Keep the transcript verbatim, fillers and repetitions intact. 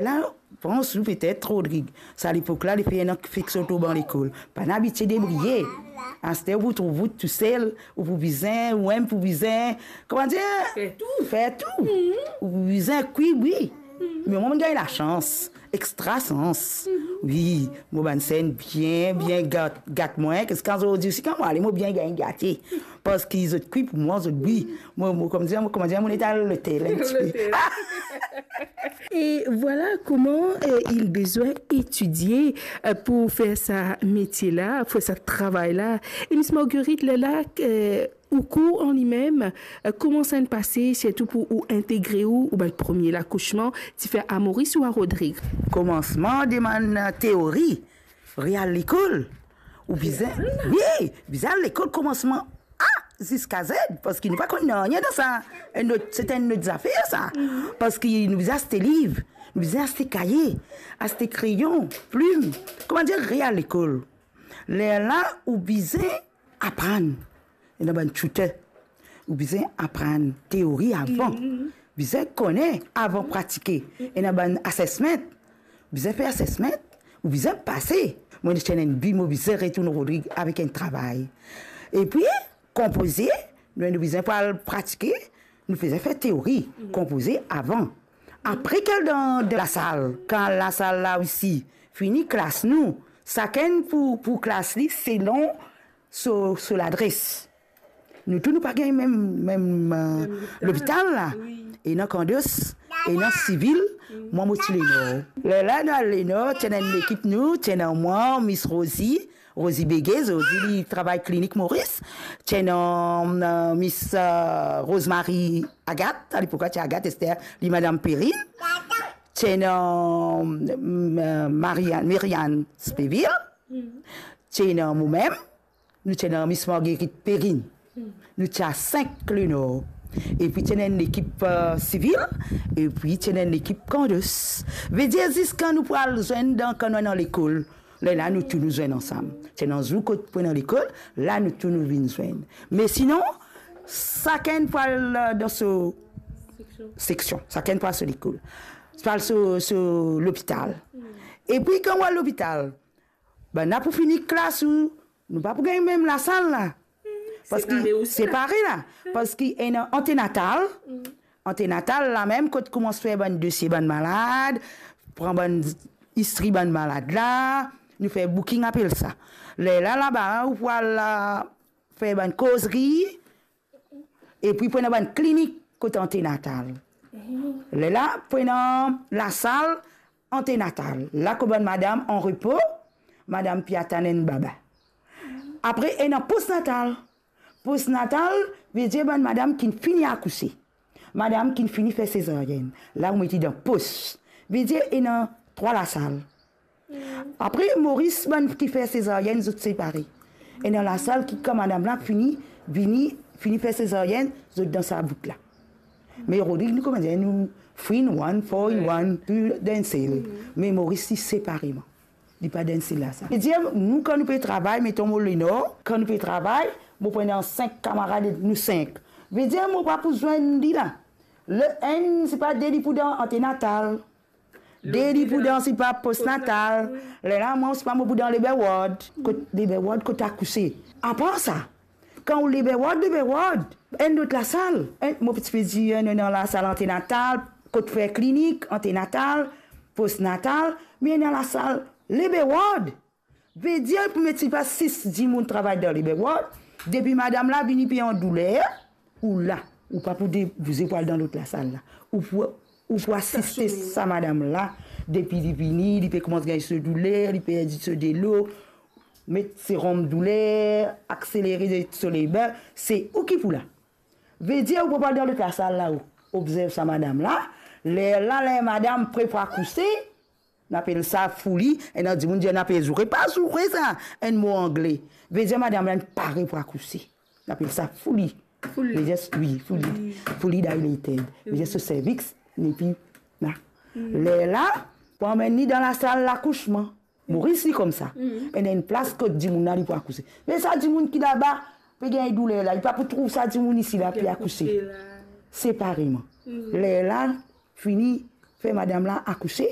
La, pran sou petet, Rodrig. Sa lepok la, li fer enn infeksion tou dan lekol. Pa'nn abitie debriye. Aster ou pou trouv ou tousel, ou pou bizin, ou mem pou bizin, kouma dir? Fer tou. Fer tou. Mhm. Ou pou bizin kwi, wi. Mhm. Me mwa, mo gagn lasans, extra sans. Mhm. Wi, mo bann ser bien, bien gat, gat mwa, ziska zordi osi, kan mo ale, mo bien gagn gate. Parski zot kwi pou mwa, zot bwi. Mo, mo, kouma dir, mo, kouma dir, mo leta lotel, enn tipe. Lotel. Et voilà comment, euh, il besoin étudier, euh, pour faire sa métier-là, faire sa travail-là. Et Miss Marguerite, lerla, euh, ou kour an limem, euh, kouma sa inn pase, sirtou pou ou integre ou, ou bann premie lakousman, ti fer a Moris ou a Rodrig? Komansman, demann teori, real lekol, ou bizin, wi, bizin al lekol komansman A ziska Z, parski nou pa konn nanye dan sa. Enn lot, se enn lot zafer sa. Mhm. Parski nou bizin aste liv, nou bizin aste kaye, aste kreyon, plim. Kouma dir, real lekol. Lerla ou bizin aprann. Ena bann tutor. Ou bizin aprann teori avan. Mhm. Bizin kone avan pratike. Ena bann assessment. Bizin fer assessment, ou bizin pase. Mwa, mo ti ena enn bi, mo bizin retourn Rodrig avek enn travay. Epi, konpoze, nou, nou bizin pou al pratike, nou bizin fer teori, konpoze avan. Apre, kel dan, dan lasal, kan lasal la osi, fini klas nou, sakenn pou, pou klas li, selon so, so ladres. Nou tou, nou pa gagn mem, mem, euh, lopital la. Wi. Ena Kandos, ena Sivil, mwa, mo ti Lenor. Lerla nou al Lenor, ti ena enn lekip nou, ti ena mwa, Miss Rosie, Rosie Béguet, zordi li travay Klinik Moris. Ti ena, euh, Miss, euh, Rosemary Agathe, alepok ti Agathe Esther, li Madam Perrine. Ti ena, euh, Marianne, Merianne Spéville. Ti ena momem. Nou ti ena Miss Marguerite Perrine. Nou ti a sink Lenor. Epi ti ena enn lekip, euh, Sivil, epi ti ena enn lekip Kandos. Vedir ziska nou pou al zwenn dan, kan nou ena lekol, lerla nou tou nou zwenn ansam. Ti ena zour kot pou ena lekol, la nou tou nou vinn zwenn. Me sinon, sakenn pou al, euh, dan so seksion. Seksion, sakenn pou al so lekol. Pou al so, so lopital. Epi kan ou al lopital, bann la pou fini klas ou, nou pa pou gagn mem lasal la. Parski separe osi la. Separe la. Parski ena antenatal. Antenatal la mem kot koumans fer bann dosie bann malad, pran bann istri bann malad la, nou fer booking apel sa. Lerla laba ou pou al, euh, fer bann kozri, epi pou ena bann klinik kot antenatal. Lerla pou ena lasal antenatal. La kot bann madam an repo, madam pe atann enn baba. Apre ena postnatal. Postnatal vedir bann madam ki fini akouse. Madam ki fini fer sezaryenn. La ou met li dan pos. Vedir ena trwa lasal. Apre, Moris, bann ki fer sezaryenn, zot separe. Ena lasal ki, kan madam la fini, vini, fini fer sezaryenn, zot dan sa bout la. Me Rodrig, nou kouma dir, nou three in one, four in one, tou dan enn sel. Me Moris, li separeman. Li pa dan enn sel lasal. Vedir, nou, kan nou pe travay, meton mo Lenor, kan nou pe travay, mo pou ena sink kamarad, nou sink. Vedir, mo pa pou zwenn li la. Le enn, sipa de li pou dan antenatal. De li pou dan sipa postnatal. Lerla mwa, sipa mo pou dan labor ward. Kot labor ward, kot akouse. Apar sa, kan ou labor ward, labor ward, enn lot lasal. Enn, mo ti pe dir, enn, enn lasal antenatal, kot fer klinik, antenatal, postnatal, me ena lasal labor ward. Vedir pou met sipa sis dimoun travay dan labor ward, depi madam la vini pe an douler, ou la, ou pa pou de-, bouze pou al dan lot lasal la. Ou pou, ou pou asiste sa madam la, depi li vini, li pe koumans gagn so douler, li perdi so delo, met serom douler, akselere so labor, se ou ki pou la. Vedir ou pa pou al dan lot lasal la, ou obzerv sa madam la, lerla, ler madam pre pou akouse, nou apel sa fouli, ena dimoun dir nou apel zoure, pa zoure sa, enn mo angle. Vedir madam la inn pare pou akouse. Nou apel sa fouli. Fouli. Vedir, wi, fouli. Fouli dilated. Vedir so cervix, epi la. Lerla, pou amenn li dan lasal lakousman. Moris li koumsa. Ena enn plas kot dimoun la li pou akouse. Me sa dimoun ki laba, pe gagn douler la, li pa pou trouv sa dimoun isi la, pe akouse. Separeman. Lerla, fini fer madam la akouse,